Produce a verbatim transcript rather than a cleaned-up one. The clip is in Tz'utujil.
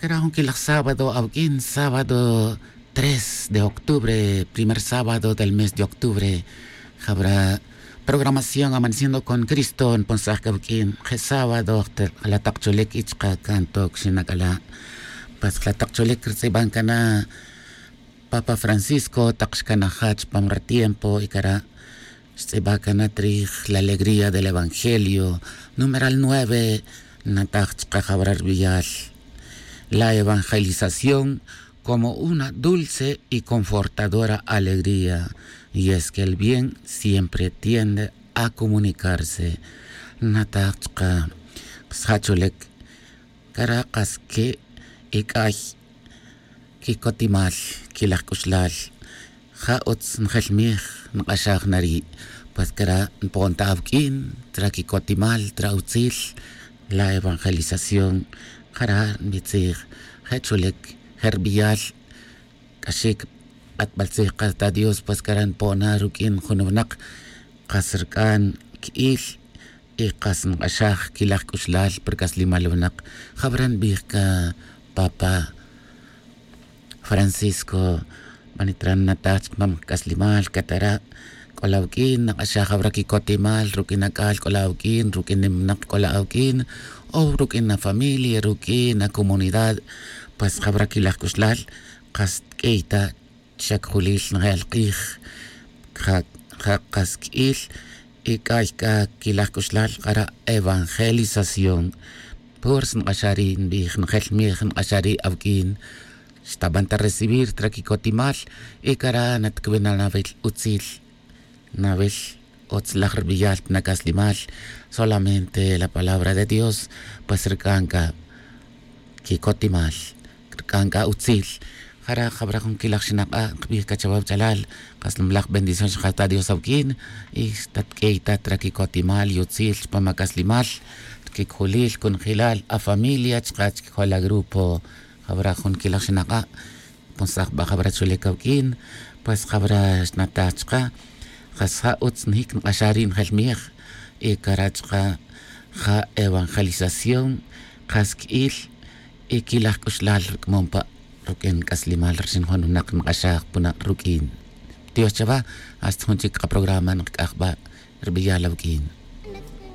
Cara' jun quilaj sábado awq'uin sábado tres de octubre, primer sábado del mes de octubre. Jabra programación amaneciendo con cristo nponsaj c'a awq'uin je' sábado. Jalatak cholic y chka' can toc xinac'ala'. Pues jalatak cholic rtz'iban cana papa francisco tak xcanajach pam ratiempo y cara' xtz'iba cana trij la alegría del evangelio numeral nueve. Nataj chka' jabra rbiyal la evangelización como una dulce y confortadora alegría. Y es que el bien siempre tiende a comunicarse. Nataj chka' sjacholec cara' kas que y c'ay quicotimal quilaj c'uxlal. Ja utz njelmij nk'axaj na ri'. Pues cara' npon ta awq'uin tra quicotimal tra utzil la evangelización. Jara' nbitzij je' cholic je' rbiyal c'axic q'atbal tzij kas ta dios pues cara' npon na ruq'uin jun winak kas rc'an qui'il y kas nk'axaj quilaj c'uxlal pa rc'aslimal winak. Jawra nbij ca papa francisco. Manitra nnataj chik mam c'aslimal catara' c'o la awuq'uin nak'axaj awra quicotimal ruq'uin ac'al c'o la awuq'uin ruq'uin nim winak c'o la awuq'uin o ruq'uin afamilia ruq'uin acomunidad. Pues jawra quilaj c'uxlal kas tq'uiy ta xacjulil nje'el k'ij ja kas qui'il y c'ay c'a quilaj c'uxlal k'ara' evangelización. Pur snk'axari' nbij njel mij nk'axari' awuq'uin xtaban ta recibir tra quicotimal y cara' natcubin na nawil utzil nawil utz laj rbiyal pa nac'aslimal. Solamente la palabra de dios pues rc'an c'a quicotimal rc'an c'a utzil. Jara' jawra jun quilaj xinak'a' nkbij c'a chawe awach'alal kas nimlaj bendición xkaj ta dios awuq'uin y xtatq'uiy ta tra quicotimal y utzil chupan ac'aslimal. Quicolil conjelal afamilia chka' chquijol agrupo. Jawra jun quilaj xinak'a' ponsaj ba jawra cholic awuq'uin. Pues jawra xnataj chka' kas ja utz njic nk'axaj ri' njel mij y cara' chka' ja evangelización kas qui'il y quilaj c'uxlal rc'amon pa ruq'uin c'aslimal rxin jun winak nk'axaj puna' ruq'uin. Dios chawa hasta jun chic kaprograma nkac'aj ba rbiyal awuq'uin.